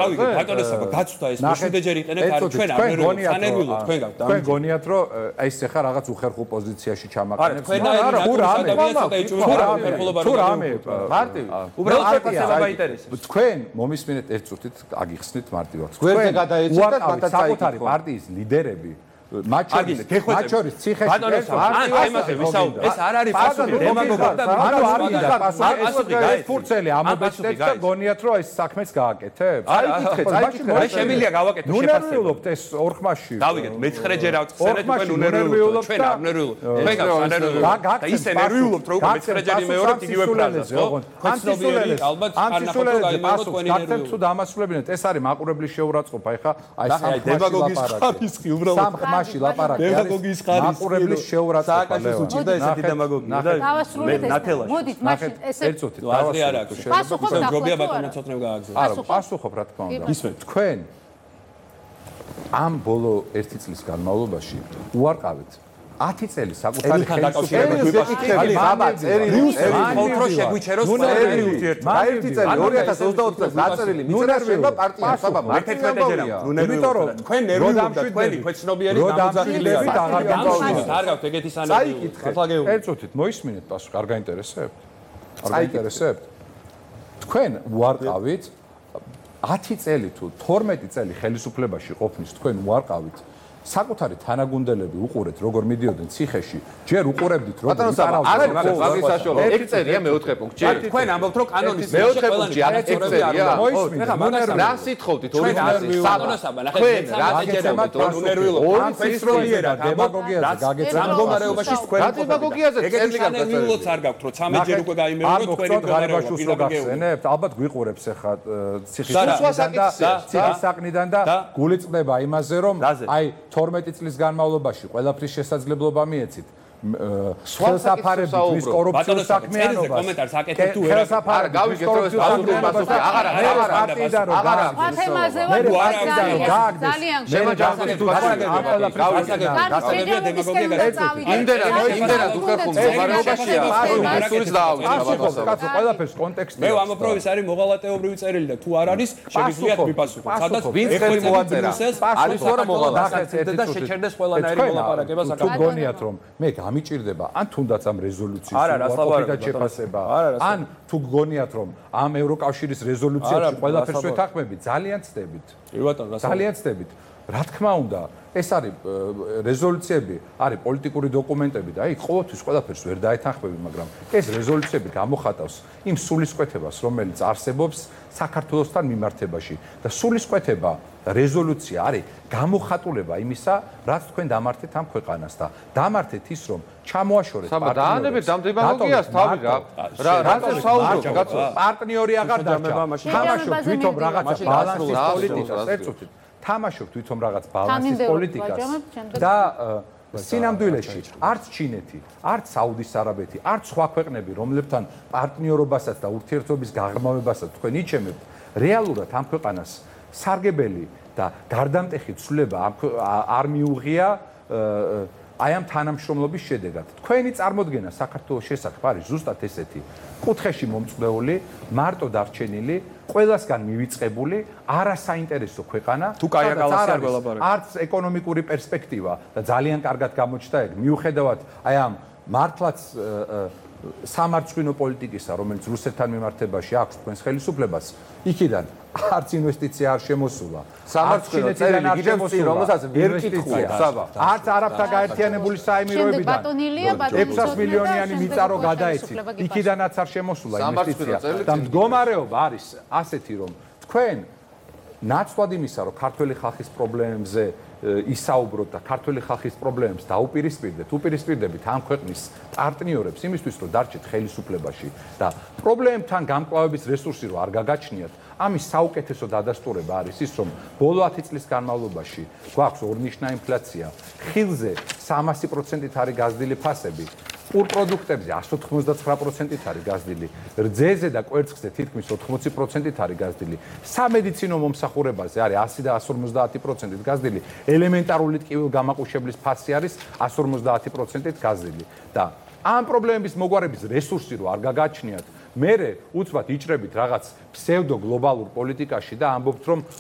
ბატონოსაბა გაცვდა ეს მშვიდეჯერ იყენებთ არ ჩვენ არ ვერეულობთ თქვენ გონიათ რომ ეს ახლა რაღაც უხერხულ პოზიციაში ჩამაყენებს არა თქვენ მომისმინეთ ერთ წუთით აგიხსნით მარტივად გვერდზე გადაეცეთ და მათაც საკუთარი პარტიის ლიდერები მათ შორის ციხეში ეს არ არის პასუხი დემაგოგია და ეს ფურცელი ამობეჭდეთ და გონიათ რომ ეს საქმეც გააკეთებს აი შემიძლია გავაკეთო შეფასება ნუნერვიულობთ ეს ორხმაში დავიგეთ მე-9ჯერ ავწხენეთ თქვენ ნუნერვიულობთ ჩვენ არ ნუნერვიულობთ თქვენ გავსანერვიულობთ და ისე ნერვიულობთ რომ მე-9ჯერ იმეორებთ იგივე ფრაზას ხო ანტისულელეს ალბათ გაკეთებთ თუ დამასრულებინეთ ეს არის მაყურებლის შეურაცხყოფა ეხა აი დემაგოგიის ხარისხი უბრალოდ დემაგოგიის ხარისხი მაყურებლის შეურაცხყოფა სააკაშოს უჭირდა ესეთი დემაგოგია და ნათელაში მოდით მაშინ ესე აზრი არ აქვს პასუხობ ჯობია ბატონო ცოტნე გააგზავნო არა პასუხობ რა თქმა უნდა თქვენ ამ ბოლო 1 წლის განმავლობაში უარყავით 10 წელი საკუთარი ხელისუფლების ვიფასებთ აბა წერილი კონტრო შეგვიჩეროს წერილი ურთიერთობა და 1 წელი 2024 წელს დაწერილი მიწერაშება პარტია საბა მე-11ჯერ იმიტომ რომ თქვენ ნერვიულობთ თქვენი ქვეცნობიერი გამოძახილებით აღარ გაგზავნოთ არ გაქვთ ეგეთი სანერვიულობა წაიკითხეთ ერთ წუთით მოისმინეთ პასუხი არ გაინტერესებთ არ გაინტერესებთ თქვენ უარყავით 10 წელი თუ 12 წელი ხელისუფლებაში ყოფნის თქვენ უარყავით საკუთარი თანაგუნდელები უყურეთ როგორ მიდიოდნენ ციხეში ჯერ უყურებდით როგორ იცარავდნენ არის საშუალო 1 წერია მე-4 პუნქტი ჯერ თქვენ ამბობთ რომ კანონის მე-4 პუნქტი არ 1 წერია რა სიტყვით თქვენ ბატონოსაბა ნახეთ რა დაჯერებთ ნუნერვიულობთ ფესროლიერა დემაგოგიაზე გაგეცემთ რამგომარეობაში თქვენ დემაგოგიაზე წერილი ნუნერვიულობთ არ გაქვთ რომ 13ჯერ უკვე გაიმეოროთ თქვენი მდგომარეობა გახსენებთ ალბათ გვიყურებს ახლა ციხის საყნიდან და გულიწდება იმაზე რომ აი 12 წლის განმავლობაში ყველაფრის შესაძლებლობა მიეცით ხელსაფარებით ვის კორუფციულ საქმიანობას კომენტარს აკეთებ თუ ვერ არა გავიგეთ რომ ეს პასუხი აღარა თემაზე ვარ ძალიან შემაჯამოთ თუ იმდენად უხერხულ მდგომარეობაშია სულიც დაავიწყდა კაცო ყველაფერს კონტექსტი მე ამაფროვის არის მოღალატეობრივი წერილი და თუ არ არის შეგიძლიათ მიპასუხოთ სადაც ვინც ხელი მოაწერა არის რა მოღალატე და შეჩერდეს ყველანაირი მოლაპარაკება თუ გონიათ რომ მე გამიჭირდება ან თუნდაც ამ რეზოლუციის უარყოფით და შეფასება ან თუ გგონიათ რომ ამ ევროკავშირის რეზოლუციაში ყველაფერს ვეთანხმებით ძალიან ცდებით ძალიან ცდებით რა თქმა უნდა ეს არის რეზოლუციები არის პოლიტიკური დოკუმენტები და აი ყოველთვის ყველაფერს ვერ დაეთანხმები მაგრამ ეს რეზოლუციები გამოხატავს იმ სულისკვეთებას რომელიც არსებობს საქართველოსთან მიმართებაში და სულისკვეთება რეზოლუცია არის გამოხატულება იმისა რაც თქვენ დამართეთ ამ ქვეყანას და დამართეთ ის რომ ჩამოაშორეთ პარტნიორებს ამ დემაგოგიას თავი რატო საუბრობთ კაცო პარტნიორი აღარ დარჩა თამაშობ თვითონ რაღაცა ბალანსის პოლიტიკას ერთ წუთით თამაშობ თვითონ რაღაც ბალანსის პოლიტიკას და სინამდვილეში არც ჩინეთი, არც საუდის არაბეთი, არც სხვა ქვეყნები, რომლებთან პარტნიორობასაც და ურთიერთობის გაღრმავებასაც თქვენ იჩემებთ, რეალურად ამ ქვეყანას სარგებელი და გარდამტეხი ცვლილება არ მიუღია აი ამ თანამშრომლობის შედეგად. თქვენი წარმოდგენა საქართველოს შესახებ არის ზუსტად ესეთი. კუთხეში მომწყვეული, მარტო დარჩენილი, ყველასგან მივიწყებული, არასაინტერესო ქვეყანა, არც ეკონომიკური პერსპექტივა და ძალიან კარგად გამოჩნდა ეგ. მიუხედავად აი ამ მართლაც სამარცხვინო პოლიტიკისა, რომელიც რუსეთთან მიმართებაში აქვს თქვენს ხელისუფლებას, იქიდან არც ინვესტიცია არ შემოსულა. სამარცხვინო წერილი გიჟებს წინ, რომელსაც ვერ კითხულობ, საბა. არც არაბთა გაერთიანებული საემიროებიდან 600 მილიონიანი მიწარო გადაეცით. იქიდანაც არ შემოსულა ინვესტიცია. და მდგომარეობა არის ასეთი, რომ თქვენ ნაცვლად იმისა, რომ ქართველი ხალხის პრობლემებზე ისაუბროთ და ქართველი ხალხის პრობლემებს დაუპირისპირდეთ, უპირისპირდებით ამ ქვეყნის პარტნიორებს იმისთვის, რომ დარჩეთ ხელისუფლებაში და პრობლემებთან გამკლავების რესურსი რო არ გაგაჩნიათ, ამის საუკეთესო დადასტურება არის ის, რომ ბოლო 10 წლის განმავლობაში გვაქვს ორნიშნა ინფლაცია, ხილზე 300%-ით არის გაზრდილი ფასები, პურ პროდუქტებზე 199%-ით არის გაზრდილი, რძეზე და კვერცხზე თითქმის 80%-ით არის გაზრდილი, სამედიცინო მომსახურებაზე არის 100 და 150%-ით გაზრდილი, ელემენტარული ტკივილგამაყუშებლის ფასი არის 150%-ით გაზრდილი და ამ პრობლემების მოგვარების რესურსი რო არ გაგაჩნიათ მერე უცბად იჭრებით რაღაც ფსევდო გლობალურ პოლიტიკაში და ამბობთ რომ